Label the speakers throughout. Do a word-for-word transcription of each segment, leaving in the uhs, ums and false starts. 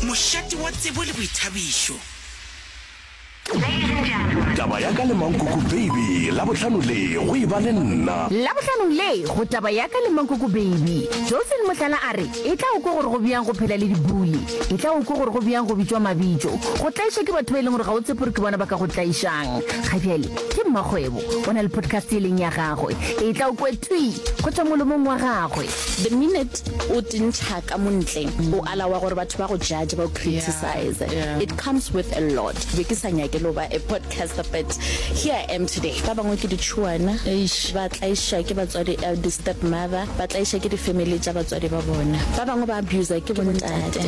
Speaker 1: Mošate wa tsebo le boithabišo.
Speaker 2: Taba ya ka le Mankoko Baby, Labohlano le go e ba le nna.
Speaker 3: Labohlanong le go Taba ya ka le Mankoko Baby, Josephine Mohlala a re, E tla o kwe gore go bjang go phela le dibully. E tla o kwe gore go bjang go bitšwa mabitšo. Go tlaišwa ke batho ba e leng gore ga o tshepe gore ke bona ba ka go tlaišang. Ga bjale ke mmakgwebo, o na le podcast e leng ya gagwe. E tla o kwe thwi go tšwa molomong wa gagwe.
Speaker 4: The minute o tintšha ka montle, o alawa gore batho ba go judge, ba go criticize.
Speaker 5: Yeah.
Speaker 4: It comes with a lot. Be ke sa nyake lo ba a podcaster, but here I am today. Ba bangwe ke ditšhuana,
Speaker 5: Eish.
Speaker 4: ba tlaiša ke batswadi, uh, di-step mother, ba tlaiša ke di-family tša batswadi ba bona. Ba bangwe ba abuser ke bontate.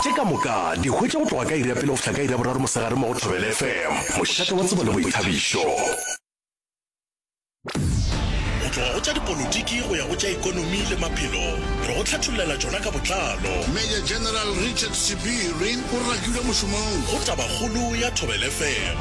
Speaker 2: Tše ka moka di hwetša go tloga ka iri ya pele go fihla ka iri ya boraro mosegare mo go Thobela F M, mošate wa tsebo le boithabišo.
Speaker 6: Go tloga go tša dipolotiki go ya go tša ekonomi le maphelo, re go hlathollela tšona ka botlalo.
Speaker 7: Major General Richard Sebiri o rakilwe mošomong.
Speaker 6: Go Tabakgolo ya Thobela F M,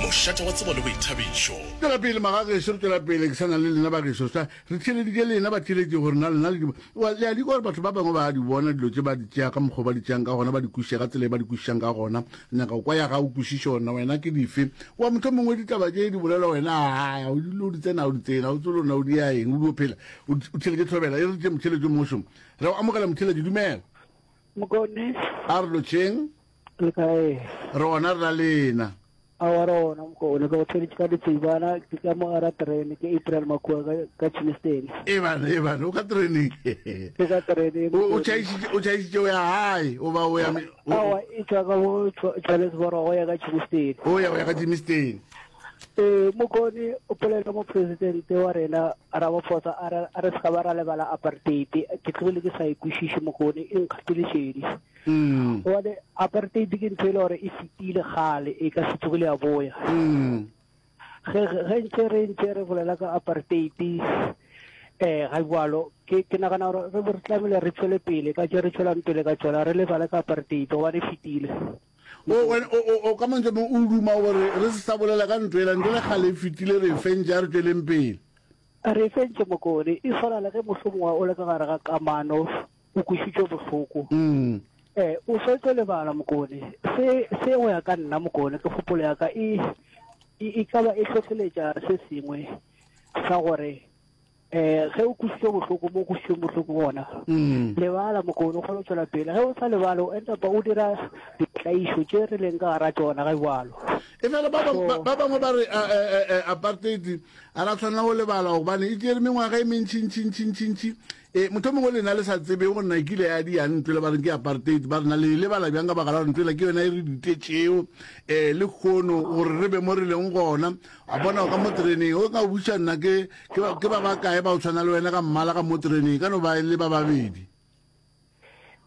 Speaker 6: mošate wa tsebo le boithabišo.
Speaker 7: Tšwela pele magagešo, re tšwela pele ke sa na le lena bagešo, sa re theeleditše lena ba theeletše gore na lena le di wa le a di kwa gore batho ba bangwe ba di bona dilo tše ba di tšea ka mokgwa ba di tšeang ka gona, ba di kwešiša ka tsela e ba di kwešišang ka gona. Nyaka go kwa ya ga o kwešiše ona wena ke dife wa motho mongwe ditaba tše di bolela wena a o di o di tsena o di tsena o tsolo na o di ya eng o di o phela o theeletše Thobela e re tše motheeletše mo šomo re o amogela motheeletše dumela.
Speaker 8: Mokone.
Speaker 7: A re lotšheng.
Speaker 8: Le kae?
Speaker 7: Re ona re na lena.
Speaker 8: Awa re ona mokone, ke go theeletše ka ditsebana, ke ka mo gara terene, ke April Makua ka, ka Germiston.
Speaker 7: E bana, e bana, o ka tereneng.
Speaker 8: Ke ka tereneng.
Speaker 7: O o tšhaišitše, o tšhaišitše o ya gae, o ba o ya me- o-
Speaker 8: Awa e tšwa ka mo Johannesburg go ya ka Germiston.
Speaker 7: O ya o ya ka Germiston.
Speaker 8: Eh mokone, o polela mo presidente wa rena Ramaphosa a re a re se ka ba ra lebala apartheid, ke tlogile ke sa e kwešiše mokone, e nkgatile šedi.
Speaker 7: Mm.
Speaker 8: Gobane apartheid ke ntho e le gore e fetile kgale, e ka se tsogile ya boya.
Speaker 7: Mm.
Speaker 8: Ge ge ntse re ntse re bolela ka apartheid eh ga jwalo, ke ke nagana gore re re tlamehile re tswele pele ka tše re tswelang pele ka tsona, re lebale ka apartheid gobane e fetile.
Speaker 7: O wena o o o ka mantswe mo o duma gore re se sa bolela ka ntho ela, ntho le kgale e fetile, re e fentše, a re tsweleng pele.
Speaker 8: Re fentše mokone, e swana le ge mohlomongwe o le ka gare ga kamano o kwešišwe bohloko.
Speaker 7: Mm.
Speaker 8: Eh o swetse lebala mokone, se se go ya ka nna mokone, ke kgopolo ya ka e e ka ba e hlohleletša se sengwe sa gore eh ge o kwešišwe bohloko mo kwešišwe bohloko gona
Speaker 7: Mm.
Speaker 8: lebala mokone, o kgone go tswela pele. Ge o sa lebale o end up o dira ditlaišo tše re leng ka gara tšona ga jwalo.
Speaker 7: E fela ba bang- ba ba bangwe ba re eh, eh, eh, apartheid a ra tshwanela go lebala gobane e tšere mengwaga e mentšintšintšintšintši. E motho mongwe lena le sa tsebe gore na e kile ya di ya ntlo le ba reng ke apartheid, ba re na le lebala bjang ka baka la gore ntlo ela ke yona e re ditetšeo um le kgono gore re be mo re leng gona. A bona o ka mo tereneng o ka buša nna ke ke ba ke ba bakae ba o tshwana le wena ka mmala ka mo tereneng ka no ba e le ba babedi.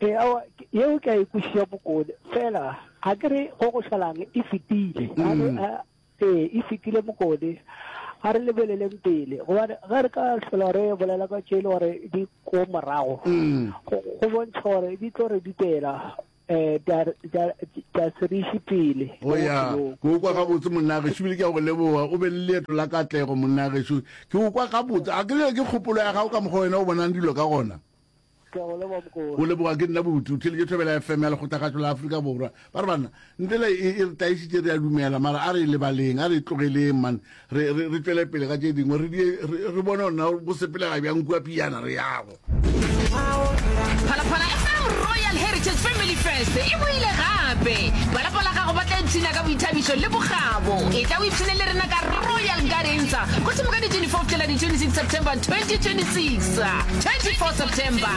Speaker 8: Eh awa yeo ke a e kwešiša mokone, fela ga ke re go go šalang e fetile. A re,
Speaker 7: Mm.
Speaker 8: a- ee e fetile mokone, a re lebeleleng pele gobane ge re ka hlola re bolela ka tše e le gore di ko morago,
Speaker 7: Mm.
Speaker 8: go go bontšha gore di tlo re ditela eh tša se re iše pele
Speaker 7: o ya ke o kwa gabotse monna gešo, ebile ke a go leboga, o be le leeto la katlego monna gešo, ke o kwa gabotse a ke le ke kgopolo ya gago ka mokgwa wena o bonang dilo ka gona.
Speaker 8: Ke a go leboga mokone.
Speaker 7: O leboga ke nna botu theletše Thobela F M ya Lekgotlakgatšo la Afrika Borwa. Ba re banna ntele e e re taišitše, re a dumela, mara a re e lebaleng, a re e tlogeleng man, re re re tšwele pele ka tše dingwe, re die re re bone gore na go sepelega bjang kua piana re yago.
Speaker 3: Phalaphala F M Royal Heritage Family Fest e boile gape. Balapa la gago ba tla ipshina ka boithabišo le bokgabo. E tla o ipshine le rena ka Royal Gardens go thoma ka di twenty-four fihlela di twenty-six September twenty twenty-six. twenty-four September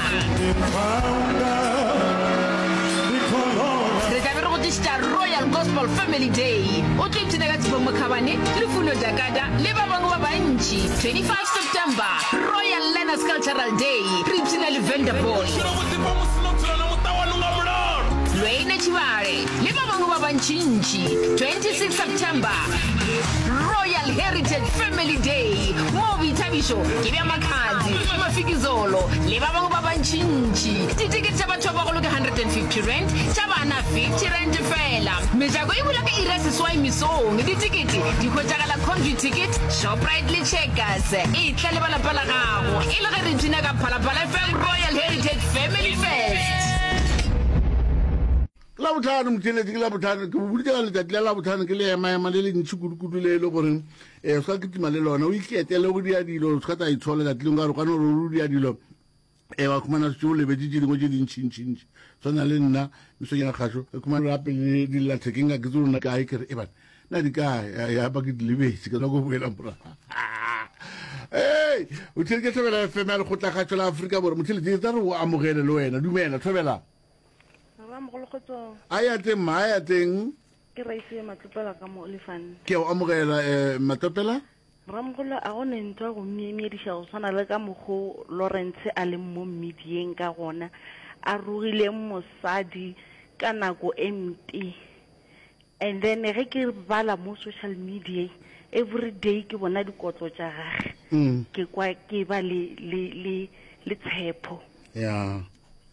Speaker 3: re tla be re go tlišitša Royal Gospel Family Day, o tlo ipshina ka Tshepo Mokhabane le Funo Dakada le ba bangwe ba bantši. twenty-five September Royal Learners Cultural Day, re ipshina le Venderboy, Lwene Tšhibale le ba bangwe ba bantšintši. twenty-six September Royal Heritage Family Day, mo boithabišo ke bja Makhadzi, Mafikizolo le ba bangwe ba bantšintši. Ditekete tša batho ba bagolo ke one hundred and fifty rand, tša bana fifty rand fela. Mejako e bula ka iri ya seswai mesong. Ditekete di hwetšagala Computicket, Shoprite le Checkers. E tla le balapa la gago e le ge re ipshina ka Phalaphala F M Royal Heritage Family Fest.
Speaker 7: Labohlano motheeletši, ke Labohlano, ke boditše ka letšatši la Labohlano ke le emaema le le ntši kudu-kudu le e le goreng um se ka kitima le lona o iketele go dia dilo, se ka tla itshola letšatši lengwe ka gore kwane gore o dia dilo um wa khumana setse o lebetše tše dingwe tše dintšintšintši tshwana le nna mesong ya kgašo ke khumana gape le dillathekeng ka ke tse rona kae ke re e bana na di kae ya ba ke di lebetše ke ko boela morago. Ei, o theletše Thobela F M ya Lekgotlakgašo la Afrika Borwa. Motheletši, tla re o amogele le wena. Dumela, Thobela.
Speaker 5: Ramogolokgotsong.
Speaker 7: A ya teng ma, a ya teng.
Speaker 5: Ke Raisiwe Matlopela ka mo Olifant.
Speaker 7: Ke a o amogela eh, Matlopela.
Speaker 5: Ramogolo, a go ne ntho ya go myemyediša go swana le ka mokgo Lawrence a leng mo medieng ka gona, a rogileng mosadi ka nako e mpe. And then ge ke bala mo social media every day ke bona dikotlo tša gage.
Speaker 7: Mm.
Speaker 5: Ke kwa ke ba le le le le tshepo.
Speaker 7: Yeah.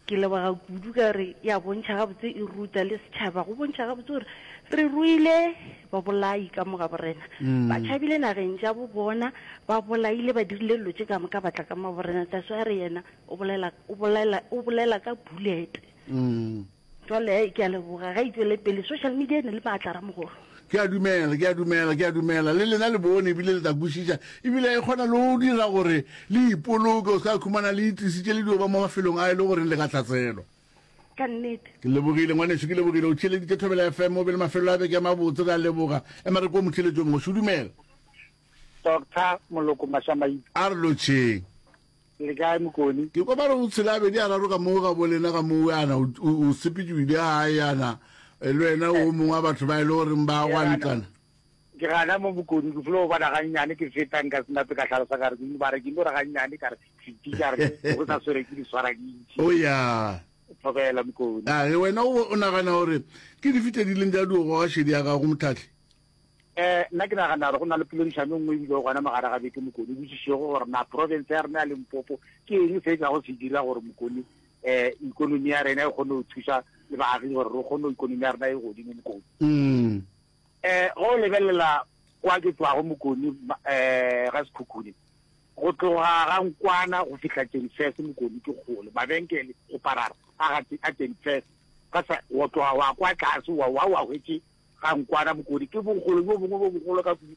Speaker 5: Ke leboga kudu ka gore ya bontšha gabotse e ruta le setšhaba go bontšha gabotse gore re ruile babolai ka mo ga borena.
Speaker 7: Mm.
Speaker 5: Ba tšhabile nageng tša bo bona, ba bolaile, ba dirile dilo tše ka moka, ba tla ka mo borena. That's why re yena o bolela, o bolela, o bolela ka bullet.
Speaker 7: Mm.
Speaker 5: Jwale ke a leboga, ga e tšwele pele. Social media e ne le maatla ramogolo.
Speaker 7: Ke a dumela, ke a dumela, ke a dumela. Le lena le bone ebile le tla kwešiša. Ebile e kgona le go dira gore le ipoloke, o se ka khumana le itlisitše le dio ba mo mafelong a e le goreng le ka hlaselwa.
Speaker 5: Ka nnete.
Speaker 7: Ke lebogile ngwanešu, ke lebogile. O theeleditše Thobela F M, o be le mafelelo a beke a mabotse, re a leboga. Ema re kwe motheeletši o mongwe. Šo dumela.
Speaker 9: Doctor Moloko Mašamaite.
Speaker 7: A re lotšheng.
Speaker 9: Le kae Mokoni?
Speaker 7: Ke kwa ba re o tshela abedi a raro ka moo ga bo lena ka moo yana o, o, o sepetše o ile gae yana le wena o mongwe wa batho ba e le goreng ba gwantlana.
Speaker 9: Ke gana mo Mokoni, ke filo go bona gannyane ke feta nka se nape ka hlalosa ka re ke ba re ke no re gannyane ka re fiti ka re go sa swere ke di swara di ntši.
Speaker 7: O ya.
Speaker 9: Thobela Mokoni.
Speaker 7: A ge wena o, o nagana gore ke dife tše di leng tša dio goga šedi ya gago Motlhahli?
Speaker 9: Eh, nna ke nagana gore go na le poledišano e nngwe ebile gona mogare ga beke Mokoni o botšišego gore na province ya rena ya Limpopo ke eng se e tlago se dira gore Mokoni eh ikonomi ya rena e kgone go thusa le baagi gore re kgone ikonomi ya rena e godimo Mokoni.
Speaker 7: Mm.
Speaker 9: Eh, go o lebelela kwa ke tswago Mokoni, eh, ga Sekhukhune, go tloga ga Nkwana go fihla Tšenfese Mokoni ke kgole, mabenkele go parara a ga a Tšenfese ka sa wa tloga wa kwa tlase wa wa wa hwetše ga Nkwana Mokoni ke bogolo bjo bongwe bo bogolo ka kudu.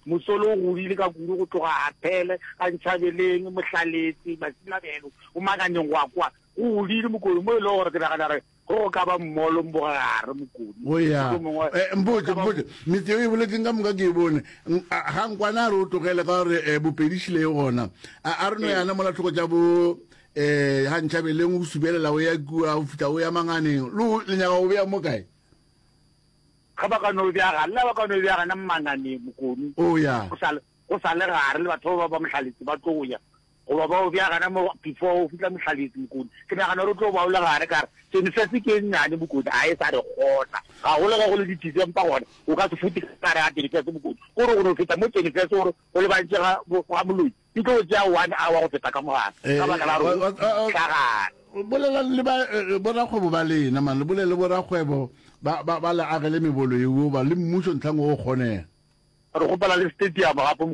Speaker 9: Mosolo o godile ka kudu go tloga Aphele, ga Ntšhabeleng, Mohlaletse, Masilabelo, o Makaneng go a kwa. Go godile Mokoni mo e lego gore ke nagana gore go go ka ba mmolo mbogare Mokoni.
Speaker 7: O ya.
Speaker 9: Mohlomongwe
Speaker 7: Eh, mpotše,
Speaker 9: go ka ba
Speaker 7: mpotše. Metse eo e boletseng ka moka ke e bone. N-, a, ga Nkwana a re o tlogele ka gore, eh, bopedišile e gona. A, a re no
Speaker 9: Ee.
Speaker 7: yana mola tlhoko tša bo, eh, ga Ntšhabeleng o subelela o ya kua, o fihla o ya Manganeng. Le o, le nyaka go bea mo kae?
Speaker 9: Ge ba ka no bea gare, le ba ka no bea gana Manganeng Mokoni.
Speaker 7: O ya.
Speaker 9: Go sa le, go sa le gare le batho ba ba Mohlaletse ba tlo ya. Goba ba o bea gana mo before o fihla Mohlaletse Mokoni. Ke nagana gore o tlo ba o le gare ka re Tšenifese ke e nnyane Mokoni, a e sa re kgona. Gagolo ge go le di-December gona, o ka se fute ka gare ga Tšenifese Mokoni. Kore o no feta mo Tšenifese gore o lebantše ga, ga moloi. E tlo tšea one hour go feta ka mogare.
Speaker 7: Eh,
Speaker 9: Ka baka la gore
Speaker 7: wa-
Speaker 9: o
Speaker 7: wa- wa-
Speaker 9: fihla gare.
Speaker 7: Bolelang le ba, eh, borakgwebo ba lena, man, le bolele le borakgwebo ba, ba, ba le agele mebolo eo, ba le mmušo ntlhang o kgonega.
Speaker 9: Re kgopela le stadium gape.